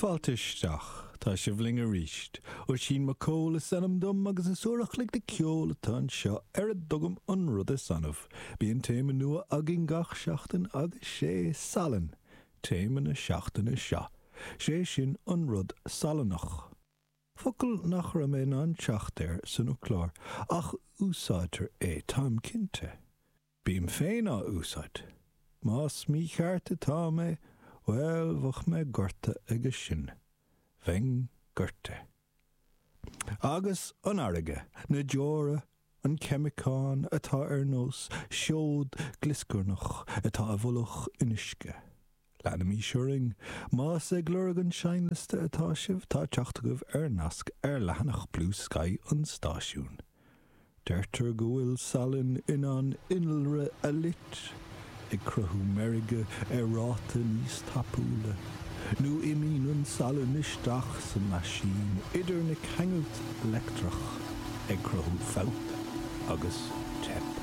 Fáilte isteach, tá sibh linn arís. Oisín Mac Cóil is ainm dom agus is uair a chloig de ceol atá anseo ar a dtugaim an rud is annamh. Bíonn téama nua againn gach seachtain agus sé salann téama na seachtaine seo, sé sin an rud salannach. Focal nach raibh mé in ann teacht air san fhoclóir ach úsáidtear é, táim cinnte. Bím féin á úsáid. Más mícheart atá mé, bhuel, bheadh mé gorta aige sin. Bheinn goirte. Agus an fharraige, na deora, an ceimiceán atá ar nós seod glioscarnach atá i bhfolach in uisce. Leanaimís orainn. Más ag lorg an seinnliosta atá sibh, tá teacht agaibh ar nasc ar leathanach Bluesky an stáisiúin. Deirtear go bhfuil salann in ann innealra a loit, ag cruthú meirge ar ráta níos tapúla, nó imíonn an salann isteach sa meaisín idir na ceangailt leictreach, ag cruthú fabht agus teip.